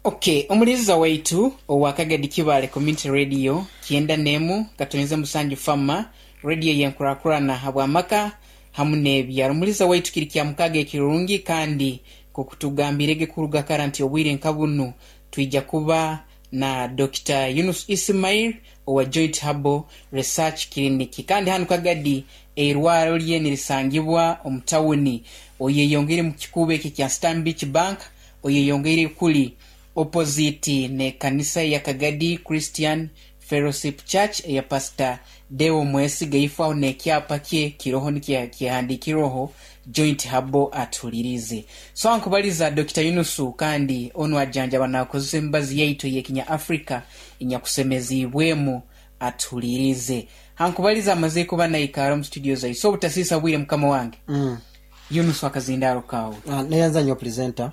Okay, omuliza waitu owa Kagadi Kibaale Community Radio 91.7 Fama radio yenkurakurana habw'amaka hamu n'ebyaro. Omuliza waitu kiri kya mukaaga ekirungi, kandi nk'okutugambirege kuruga kara nti obwire nka bunu twija kuba na Dr. Yunus Ismail owa Joint Herbal Research Clinic, kandi hanu Kagadi eirwaro lye nirisangibwa omu tawuni. Oyeyongeire mu kikuubo ekyo ekya Stanbic Bank, oyeyongeire kuli opposite n'ekanisa eya Kagadi Christian Fellowship Church eya Pastor Deo Mwesiga. Ifo aho n'ekyapa kye kiroho nikyehandikirweho Joint Herbal atuhulirize. So ankubaliza Dr. Yunusu, kandi onu ajanjaba nakozesa emibazi yaitu ey'ekinya Africa enyakusemeziibwemu, atuhulirize. Hankubaliza amaze kuba naikara omu studio zaitu. So obutasiisa bwire mukama wange. Yunusu, akazindaaro kawe. Neyanza nnyo, presenter.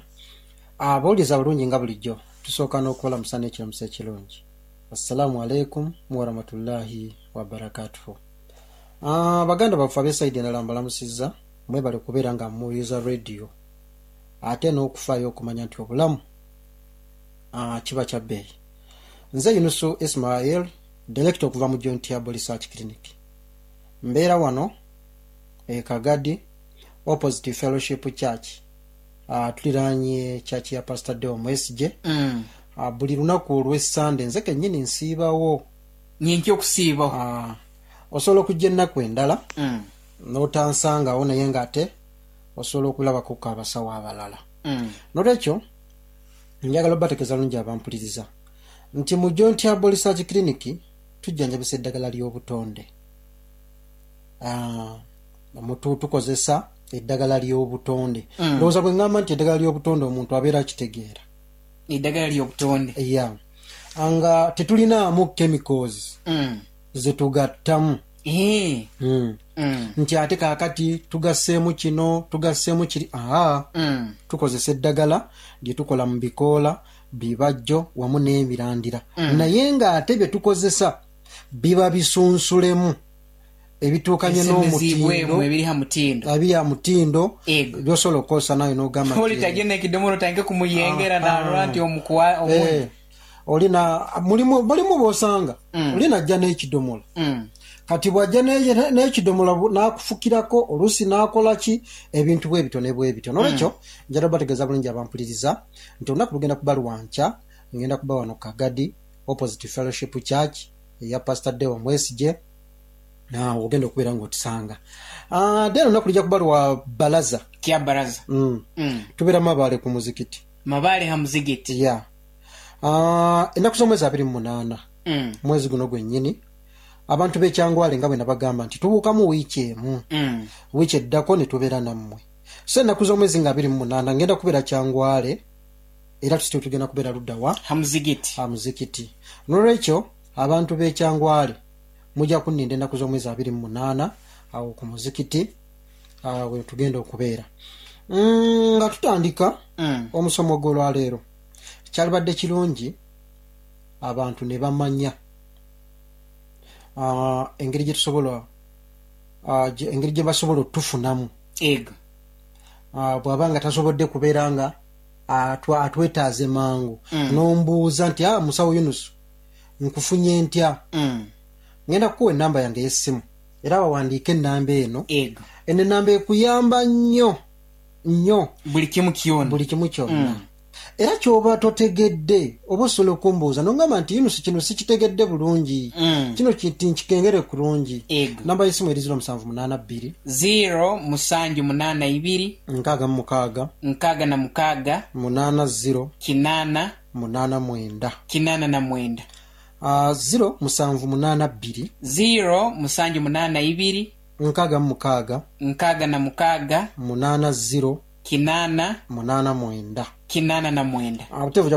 Abawuliza bulungi, nga bulijjo tusooka n'okubalamusa n'ekiramuso ekirungi, assalaamu aleikum warahmatullahi wabarakatuhu. Baganda baffe ab'e side endala, mbalamusizza, mwebale kubeera nga muwuliriza radio ate n'okufaayo okumanya nti obulamu kiba kya bbeeyi. Nze Yunusu Ismail, director okuva mu Joint Herbal Research Clinic. Mbeera wano e Kagadi, opposite Fellowship Church. Tuliraanye church ya Pastor Deo Mwesige. Buli lunaku olw'Essande nze kennyini nsiibawo. Nyenkya okusiibaho? Osobola okujja ennaku endala n'otansangawo, naye ng'ate osobola okulabako abasawo abalala. Nolwekyo njagala obategeeza bulungi abampuliriza nti mu Joint Herbal Research Clinic tujjanjabisa eddagala ly'obutonde. Tukozesa eddagala ly'obutonde. Ndowooza bwe ŋŋamba nti eddagala ly'obutonde, omuntu abeera akitegeera. Eddagala ly'obutonde. Ya, nga tetulinaamu chemicals zetugattamu. Nti ate kaakati tugasseemu kino, tugasseemu kiri, aa, tukozesa eddagala lye tukola mu bikoola, bibajjo wamu n'emirandira, naye ng'ate bye tukozesa biba bisunsulemu ebituukanye ebisemeziibwemu n'omutindo. Ebiri ha mutindo. Ebiri ha mutindo. Ego. Byosobola okukozesa nawe n'ogamba oli nti tagenda ekidomola otandike kumuyengera narora nti omukuwa omundi. Olina mulimu b'osanga oli najja n'ekidomola. Kati bw'ajja n'ekidomola n'akufukirako, oluusi n'akola ki, ebintu bwe bityo ne bwe bityo. Nolwekyo njagala bategeeza bulungi abampuliriza nti olunaku lugenda kuba lwankya, ngenda kuba wano Kagadi, opposite Fellowship Church eya Pastor Deo Mwesige, ogenda okubeera ng'otusanga. Then olunaku lujja kuba lwa balaza. Kya baraza. Tubeera Mabaale ku muzikiti. Mabaale ha muzigiti. Ya. Ennaku z'omwezi 28, mwezi guno gwennyini, abantu b'ekyangwale, nga bwe nabagamba nti tubuukamu wiiki emu, wiiki eddako ne tubeera nammwe. So ennaku z'omwezi nga 28 ngenda kubeera Kyangwale, era tusityo tugenda kubeera luddawa? Ha muzigiti. Ha muzikiti. Nolwekyo abantu b'ekyangwale mujja kunninda ennaku z'omwezi 28 awo ku muzikiti, we tugenda okubeera. Nga tutandika omusomo gw'olwaleero, kyalibadde kirungi abantu ne bamanya engeri gye tusobola engeri gye basobola otufunamu. Ego. Bw'aba nga tasobodde kubeera nga atwetaaze mangu, n'ombuuza nti, "Musawo Yunusu, nkufunye ntya?" Ngenda kukuwa enamba yange ey'essimu, era bawandiike enamba eno. Ego. Eno enamba ekuyamba nnyo nnyo. Buli kimu kyona. Buli kimu kyonna. Era kyoba totegedde, oba osobola okumbuuza nongamba nti, "Yunusu, kino sikitegedde bulungi, kino kiti nkikengere kurungi." Ego. Namba y'essimu eri 0782, 0782, 66, 66, 80, 8, 89. 89. 0782, 0782, 66, 66, 80, 8, 89. 89. Buteevu.